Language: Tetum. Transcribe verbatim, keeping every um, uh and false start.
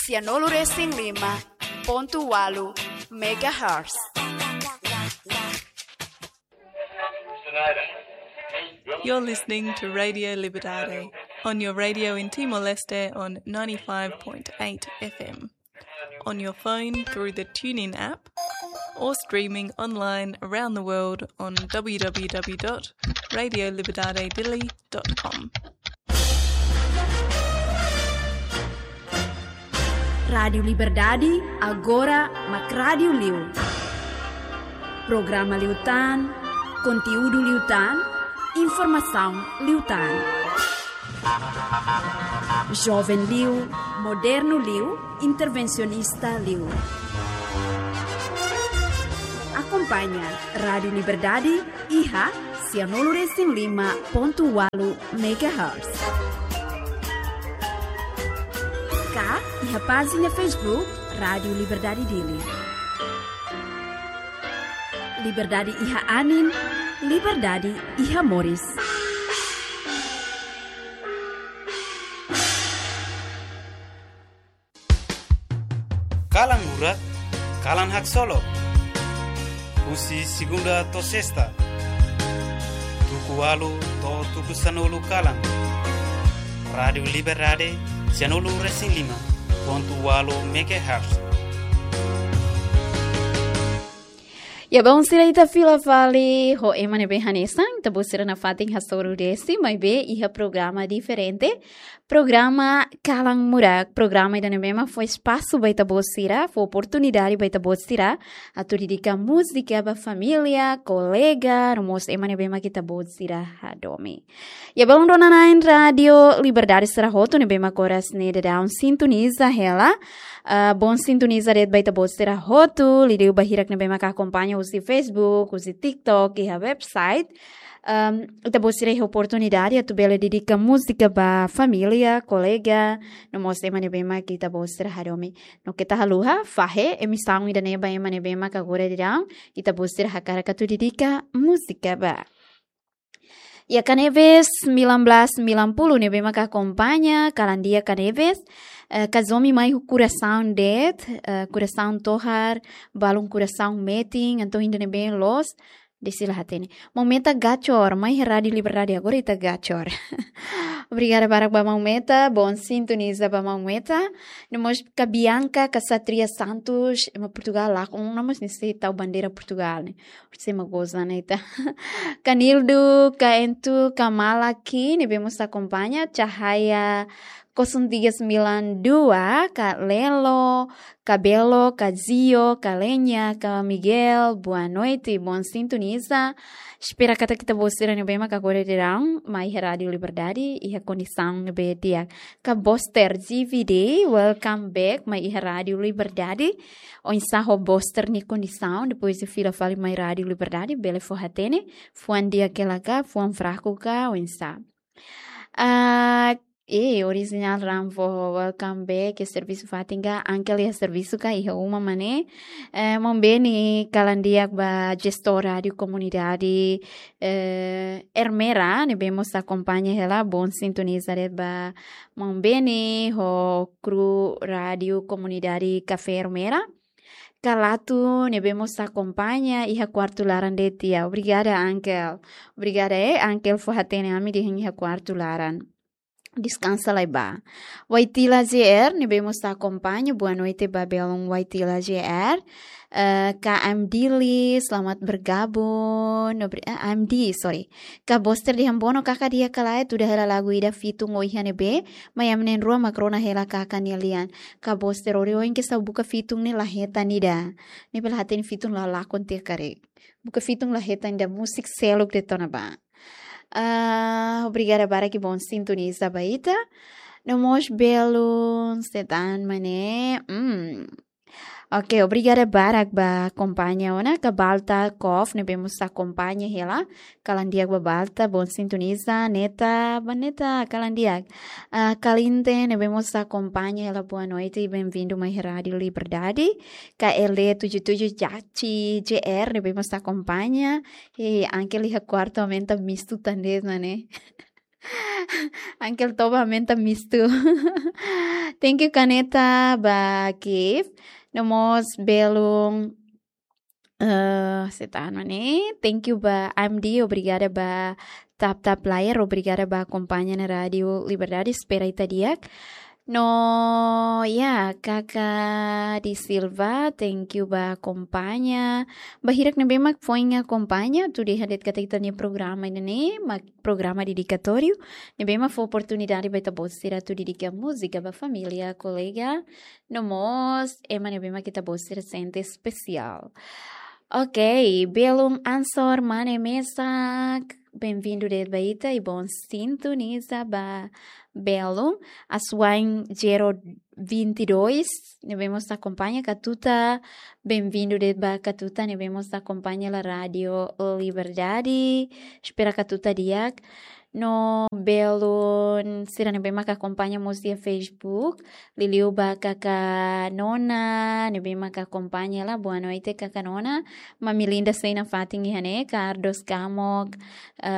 Sianulu resin lima pontu ualu megahertz. You're listening to Radio Liberdade on your radio in Timor-Leste on ninety-five point eight F M, on your phone through the TuneIn app, or streaming online around the world on w w w dot radio liberdade dili dot com. Rádiu Liberdade, agora mak rádiu liu. Programa liután, konteúdu liután, informasaun liután. Joven liu, modernu liu, intervensionista liu. Akompaña Rádiu Liberdade iha sianulu resin lima pontu ualu megahertz. Ka iha pájina Facebook Rádiu Liberdade Dili. Liberdade iha anin, liberdade iha moris. Kalan Murak, kalan haksolok. Husi segunda to'o sesta, tuku ualu to'o tuku sanulu kalan. Rádiu Liberdade, sianulu resin lima pontu ualu megahertz. Ya, baun sira, ita fila fali ho ema ne'ebé hanesan, ita-boot sira nafatin hasoru desi, maibé iha programa diferente, programa Kalan Murak, programa ida ne'ebé mak fó espasu ba ita-boot sira, fó oportunidade ba ita-boot sira atu dedika múzika ba família, kolega, no mós ema ne'ebé mak ita-boot sira hadomi. Ya, baun dona-na'in Rádiu Liberdade sira hotu ne'ebé mak oras ne'e daudaun sintoniza hela. Ah, bom sintoniza de'it ba ita-boot sira hotu, liuliu ba hirak ne'ebé mak akompaña husi Facebook, husi TikTok, iha website. Ahm, ita-boot sira iha oportunidade atu bele dedika múzika ba família, kolega, no mós ema ne'ebé mak ita-boot sira hadomi. No keta haluha, fahe emisaun ida-ne'e ba ema ne'ebé mak agora daudaun ita-boot sira hakarak atu dedika múzika ba. Ya, Kanebes sembilan belas sembilan puluh ne'ebé mak akompaña, kalan di'ak Kanebes, eh, Kazomi mai ho kurasaun de'it, eh, kurasaun tohar, balun kurasaun metin, entaun ida ne'ebé loos, desi la hatene. Maun Meta Gacor, mai iha Rádiu Liberdade, agora ita gacor. Obrigada barak ba maun Meta, bom sintoniza ba maun Meta. No mós ka Bianca, ka Satria Santos, ema Portugal lakon, no mós ne'e sei tau bandeira Portugal ne'e. Sei mak goza ne'e ita. Ka Nildo, ka Entu, ka Malaki, ne'ebé mós akompaña, Cahaya kosong tiga sembilan dua, ka Lelo, ka Belo, ka Zio, ka Lenya, ka Miguel, boa noite, bom sintoniza. Espera katak ita-boot sira ne'ebé mak agora daudaun mai iha Rádiu Liberdade iha kondisaun ne'ebé di'ak. Ka Boster G V D, welcome back mai iha Rádiu Liberdade. Oinsá ho Boster nia kondisaun, depois de fila fali mai Rádiu Liberdade, bele fó hatene, fuan di'ak hela ka, fuan fraku ka, oinsá. Ah, eh, Original Rambo, welcome back, iha servisu fatin ka, Uncle iha servisu ka, iha uma mak ne'e. Eh, maun Beni, kalan di'ak ba jestór rádiu komunidade, eh, Ermera, ne'ebé mós akompaña hela, bom sintoniza de'it ba maun Beni, ho kru rádiu komunidade Kafé Ermera. Ka Latu, ne'ebé mós akompaña iha kuartu laran de'it tiha. Obrigada, Uncle. Obrigada, eh, Uncle, fó hatene ami dehan iha kuartu laran. Deskansa lai ba. Waitila J R, ne'ebé mós akompaña. Boa noite ba belun Waitila J R. Eh, ka M D Li, selamat bergabung. Obri-, eh, M D, sorry. Ka Boster dehan bono kaka di'ak ka lae, tuda hela lagu ida fitun ohin ne'ebé, mai ami na'in-rua mak rona hela kaka nia lian. Ka Boster, ohin ohin kedas buka fitun ne'e la hetan ida. Ne'ebé la hatene fitun la lakon tiha karik. Buka fitun la hetan ida, musik seluk de'it ona ba. Ah, obrigada barak, bom sintoniza ba ita. No mós belun, setan mane. Hmm. Oke, obrigada barak ba akompaña ona, ka Balta Kof, ne'ebé mós akompaña hela. Kalan di'ak ba Balta, bom sintoniza, Neta, ba Neta, kalan di'ak. Ah, Kalinte, ne'ebé mós akompaña hela, boa noite, bem-vindo mai Rádiu Liberdade. Ka L D tujuh tujuh Jaci J R, ne'ebé mós akompaña. Hei, Uncle iha kuartu aumenta mistu tan de'it mane. Uncle Toba aumenta mistu. Thank you, Kaneta, ba gift. No mós belun, eh, setano ne. Thank you ba M D, obrigada ba tap tap layar, obrigada ba akompaña ona Rádiu Liberdade, espera ita di'ak. No, ya, Kaka di Silva, thank you ba akompaña. Ba hirak ne'ebé mak foin akompaña, atu dehan de'it katak ita-nia programa ida-ne'e mak programa dedikatóriu, ne'ebé mak fó oportunidade ba ita-boot sira atu dedika múzika ba família, kolega, no mós ema ne'ebé mak ita-boot sira sente espesiál. Ok, belun Ansor Mane mesak, bem-vindo de'it ba ita, i bon sintoniza ba belun. Aswain Jero vinte e dois, ne'ebé mós akompaña Katuta, bem-vindo de'it ba Katuta, ne'ebé mós akompaña la Rádiu Liberdade, espera Katuta di'ak. No belun sira ne'ebé mak akompaña mós iha Facebook, liuliu ba Kaka Nona, ne'ebé mak akompaña la, boa noite, Kaka Nona. Mami Linda sei nafatin iha ne'e, Cardos Kamok, eh,